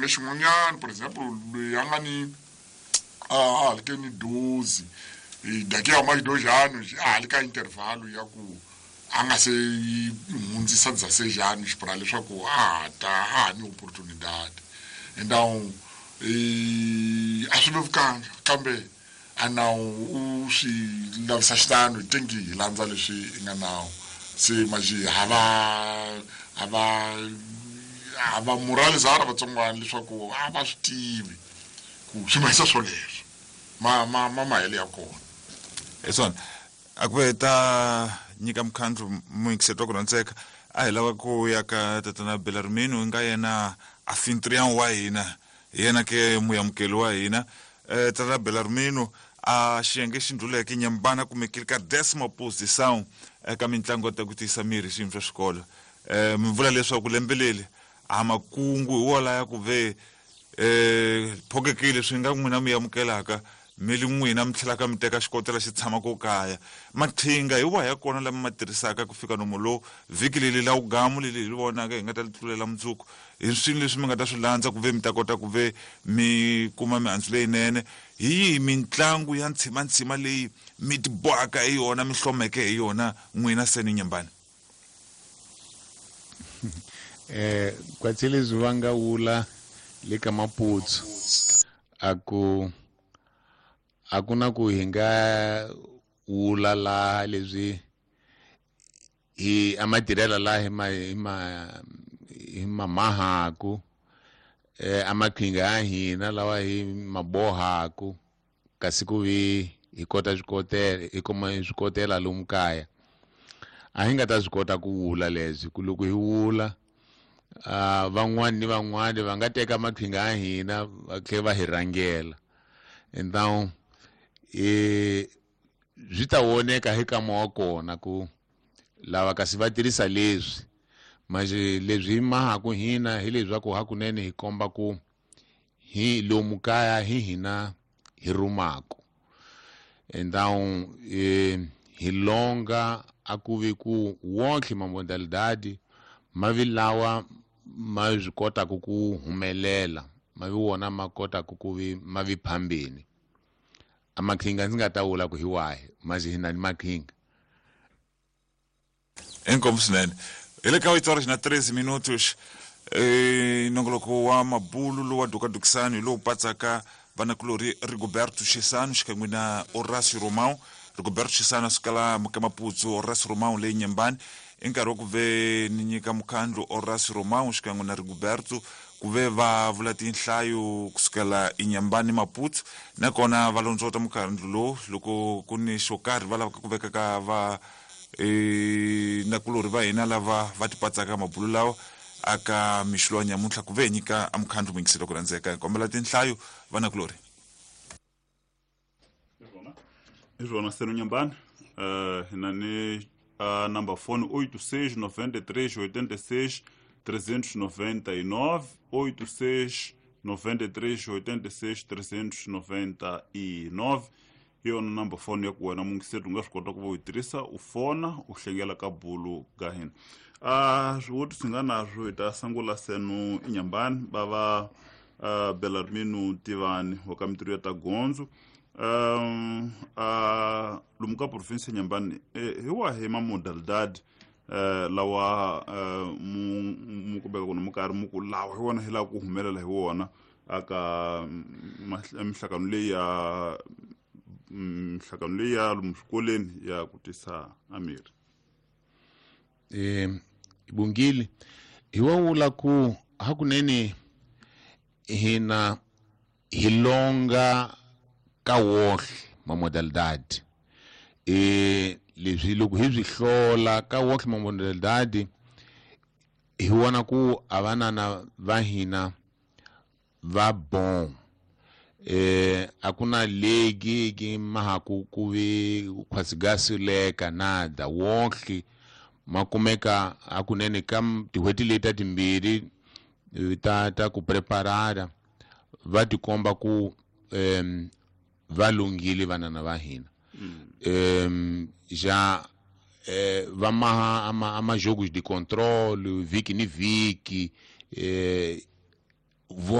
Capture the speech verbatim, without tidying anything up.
Lexin'wanyana, por exemple, loyi a nga ni a halike ni doze daqui a mais dois anos, a halika intervalo ya ku a nga se yi hundzisa dezesseis anos para leswaku a ha ta a ha ni oportunidade. Então a swi vevukanga, kambe a nawu u swi lavisa xitano, hi tengi hi landza leswi i nga nawu. Se manje hava hava hava moralizara vatsongwana leswaku a va swi tivi ku swi mahisa swoleswo ma ma ma mahele ya kona. Hi swona a ku ve ta nyika mukhandlu muyingiseti wa ku rhandzeka, a hi lava ku ya ka tatana Belarmino nga yena anfitrião wa hina, hi yena ke muyamukeli wa hina. um Tatana Belarmino, a xiyenge xi ndluleke Nyambana kumekile ka décima posição eka mitlangu ta ku tiyisa miri hi swiyimo swa xikolo. um Mi vula leswaku lembe leri a makungu hi wona ya ku ve um phokekile swi nga n'wina mi amukelaka mi li n'wina mi tlhelaka mi teka xikotela xi tshamaka kaya. Maqhinga hi wahi ya kona lama ma tirhisaka ku fika nomo lowu vhiki leli la wugamu leli hi li vonaka hi nga ta li tlulela mundzuku, hi swini leswi mi nga ta swi landza ku ve mi ta kota ku ve mi kuma mihandzu leyinene? Hi yihi mitlangu ya ntshimantsima leyi mi ti bohaka hi yona, mi hlomeke hi yona n'wina seni Nyambani? Eh kwatshelezi va nga wula le ka Maputsu a ku a ku na ku hi nga wula laha leswi hi a matirhela laha hi ma hi ma hi ma mahaku, eh a maqhinga ya hina lawa hi mabohaku, kasi ku vi hi kota swikotela, hi kuma swikotela lomu kaya a hi nga ta swi kota ku wula leswi. Ku loko hi wula, ah, van'wani ni van'wani va nga teka maqhinga ya hina va tlhela va hi rhangela. Então e swi ta voneka hi kama wa kona ku lava kasi va tirhisa leswi, manje leswi hi mahaku hina hi leswaku hakunene hi komba ku hi lomu kaya hi hina hi rumaku. Então e hi longa a ku vi ku wonke mamodalidade ma vi lawa ma swi kotaka ku humelela, ma vi wona ma kotaka ku vi ma vi phambeni. A maqhinga ndzi nga ta vula ku hi wahi, manje hi na ni maqhinga. Inkomu swinene. Hi le ka oito horas na treze minutos. eh nongoloko wa mabulu lowa dukadukisani hi lowu patsaka vanakulori Rigoberto Chissano xikan'we na Horácio Romão. Rigoberto Chissano a suka la ka Maputsu, Horácio Romão leyi Nyambani. I nkarhi wa ku ve ni nyika mukhandlu Horácio Romão xikan'we na Rigoberto ku ve va vula tinhlayo kusukela iNyambani Maputsu, nakona va londzota mukhandlu lowu loko ku ni xo karhi va lavaka ku veka ka va e nakulori va hina lava va ti patsaka mabulu lawa aka mixo lowa nyamuntlha ku ve hi nyika a mukhandlu muyingiselo ku rhandzeka. Hi kombela tinhlayo vanakulori. Hi swona seno Nyambani, uh, hi na ni a number phone oito seis noventa e três oitenta e seis trezentos noventa e nove, oito seis noventa e três oitenta e seis trezentos noventa e nove. Hi yona number phone ya ku wena muyingiseri u nga swi kota ku va u yi tirhisa, u fona u hlengela ka bulu ka hina. A swivutiso hi nga naswo hi ta sungula seno iNyambani va va uh, Belarmino Tivani wa ka mintirho ya ta gondzo. Um a lomu ka province ya Nyambani, hi wahi ma modalidade uh, lawa uh, mu mu kumbeka ku mu karhi mu ku lawa hi wona hi lava ku humelela hi wona aka mihlangano leyi ya mihlangano leyi ya lomu swikolweni ya ku tisa amiri? Eh Bungile, hi wa vula ku hakunene hina hi longa ka wohle ma modalidade. E leswi loko hi swi hlola ka wohle ma modalidade hi vona ku a vanana va hina va bon. Eh a ku na legi ki mahaku ku vi khwasigasileka nada, wohle ma kumeka hakunene ka tin'hweti leti ta timbirhi ta ta ku preparara va tikomba ku um va lunghile vanana va hina. Um já eh, va maha ama, ama jogos de controle vhiki ni vhiki, eh, vo